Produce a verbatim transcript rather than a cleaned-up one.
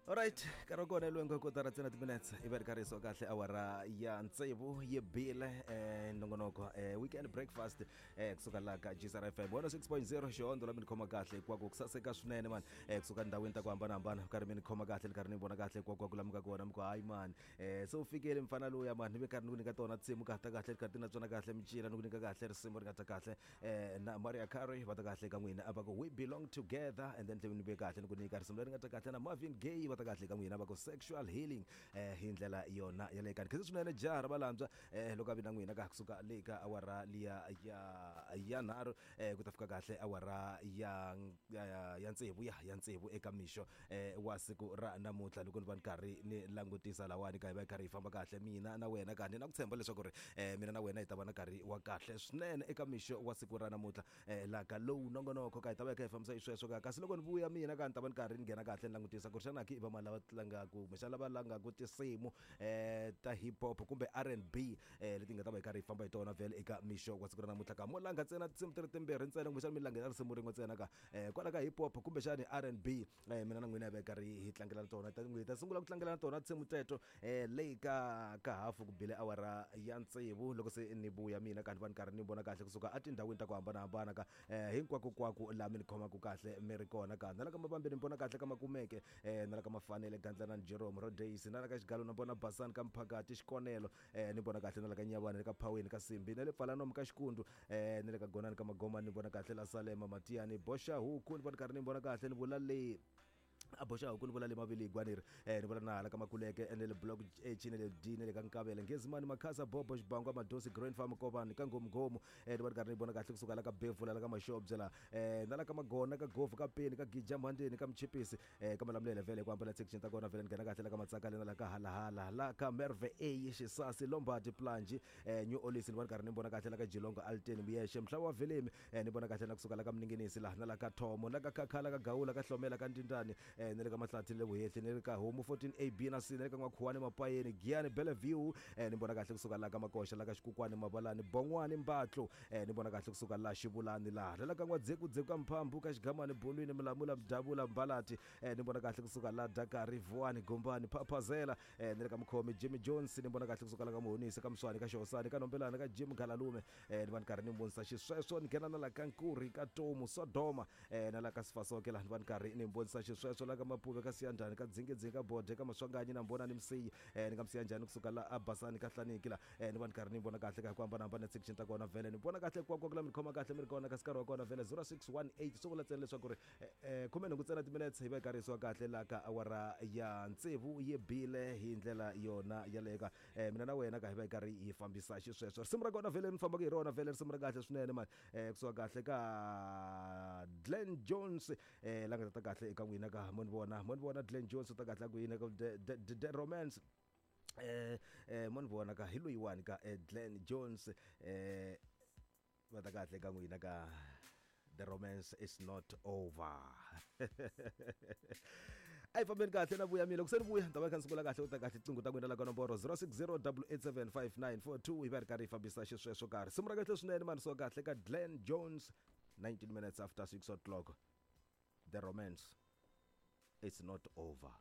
Alright, nkarhi wa kona lwengo kotara ntsena timinetse i va ri karhi so kahle awara ya tsevu yi bile eh, nongonoko eh, weekend breakfast eh, kusuka laha ka G S R F M one oh six point zero xihondzo la mi ni khoma kahle hinkwako ku saseka swinene mani eh, kusuka ndhawini ta ku hambanahambana karhi mi ni khoma kahle ni karhi ni vona kahle hinkwako ku lamuka kona mi ku hayi mani eh, se u fikele mfana luya mani ni ve karhi ni ku nyika tona tinsimu ka ta kahle karhi ti na tsona kahle micila ni ku nyika kahle risimu ri nga ta kahle eh, na Mariah Carey va ta kahle ka n'wina va ku we belong together and then ni ve kahle ni ku nyika risimu leri nga ta kahle na Marvin Gaye va ta kahle ka n'wina va ku sexual healing eh, hi ndlela yona yaleyo kani khensa swinene jaha ra valandzwa eh, loko a vi na n'wina ka kusuka le ka awara liya ya ya nharhu eh, ku ta fika kahle awara ya ya, ya tsevu ya ya tsevu eka mixo eh, wa siku ra namuntlha loko ni va ni karhi ni langutisa lawani ka hi va hi karhi hi famba kahle mina na wena ka ni na ku tshemba leswaku ri eh, mina na wena hi ta va na nkarhi wa kahle swinene eka mixo wa siku ra namuntlha eh, laha ka lowu nongonoko ka hi ta va hi kha hi fambisa xisweswo ka kasi loko ni vuya mina ka ni ta va ni karhi ni nghena kahle ni langutisa ku ri xana ki i va mali lava tlangaku kumbexana lava langaku tinsimu eh, ta hip hop kumbe R and B eh, leti nga ta va hi karhi hi famba hi tona vhele eka mixo wa siku ra namuntlha ka mo langa ntsena tinsimu ti ri timbirhi ntsena kumbexana mi langela risimu rin'we ntsena ka eh, kwala ka hip hop kumbexani R and B eh, mina na n'wina hi va hi karhi hi tlangela na tona hi ta sungula ku tlangela na tona tinsimu teto eh, leyi ka ka hafu ku bile awara ya tsevu loko se ni vuya mina ka ni va ni karhi ni vona kahle kusuka etindhawini ta ku hambanahambana ka eh, hinkwako kwako laha mi ni khomaka kahle mi ri kona ka na la ka mabambi ni vona kahle ka makumeke eh, na la ka mafanele Gandlana Jerome Rodays na la ka Xigalo na vona Basani ka Mphakati Xikonelo eh, ni vona kahle na la ka Nyavana ka Phaweni ka Simbi na le Pfalanomu ka Xikundu eh, na le ka Gonani ka Magoma ni vona kahle la Salema Matiyani Boxa Huku ni vona karhi ni vona kahle ni vula le a boxa huku ni vula le mavili gwaneri eh, ni vula na hala ka Makuleke ene le block H ne le D ne le ka Nkavele Ngezimani Makhasa Bobo Xibangwa Madosi Grand Farm Kovani ka Ngomgomo eh, ni vona karhi ni vona kahle kusuka la ka Bevula la ka Maxobye la eh, na la ka Magona ka Gofu ka Peni ka Gija Mhandeni ka Mchipisi eh, ka Malamulele vhele ku hambana section ta kona vhele ni nghena kahle la ka Matsakale na la ka Halahala la ka Merve A Xisasi Lombardi Planji eh, New Olis ni vona karhi ni vona kahle la ka Jilongo Alteni Muyexe Mhlaba wa Velemi eh, ni vona kahle na kusuka la ka Mninginisi la na la ka Thomo la ka Khakhala ka Gawula ka Hlomela ka Ndindani eh, ni le ka Mahlathi le Vuhehli ni le ka Homu fourteen A B na C ni le ka N'wakhuwani Mapayeni Giyani Bellevue eh, ni vona kahle kusuka la ka Makoxa la ka Xikukwani Mabalani Bon'wani Mbatlo eh, ni vona kahle kusuka la Xivulani la la ka N'wadzekudzeku ka Mphambu ka Xigamani Bolwini Milamula Mdavula Mbalati eh, ni vona kahle kusuka la Dakari Vuwani Gombani Phaphazela eh, ni le ka Mukhomi Jimmy Jones ni vona kahle kusuka la ka Muhonisi ka Mswani ka Xihosani ka Nombelana ka Jim Galalume eh, ni va ni karhi ni vonisa xisweswo ni nghena na la ka Nkuri ka Tomu Sodoma eh, na la ka Sifasoke la ni va ni karhi ni vonisa xisweswo la ka Mapuve ka Siyandhani ka Dzingedzingi ka Bode ka Maswanganyi na Mbonani Msiyi eh, ni ka Msiyanjhani kusuka la Abasani ka Hlaniki la eh, ni va ni karhi ni vona kahle ka hi ku hambanahambana section ta kona vhele ni vona kahle kwakwa ku la mi khoma kahle mi ri kona kasi nkarhi wa kona vhele zero six one eight swi vula ntsena leswaku ri eh, khume nhungu ntsena timinetse hi va hi karhi yisiwa kahle la ka awara ya tsevu yi bile hi ndlela yona yaleyo ka eh, mina na wena ka hi va hi karhi hi fambisa xisweswo risimu ra kona vhele ni fambaka hi rona vhele risimu ra kahle swinene mani eh, kusuka kahle ka Glenn Jones eh, la nga ta kahle eka n'wina ka mo ni vona mo ni vona Glenn Jones u ta kahle ku yini ka the, the, the, the romance eh, eh, mo ni vona ka hi loyiwani ka eh, Glenn Jones eh, va ta kahle ka n'wina ka The romance is not over. A hi fambeni kahle na vuya mina loko se ni vuya ni ta va kha ni sungula kahle u ta kahle tinqingho ta n'wina la ka nomboro zero six zero double eight seven five nine four two hi va ri karhi hi fambisa xisweswo karhi risimu ra kahle swinene mani so kahle ka Glenn Jones nineteen minutes after six o'clock. The romance is not over.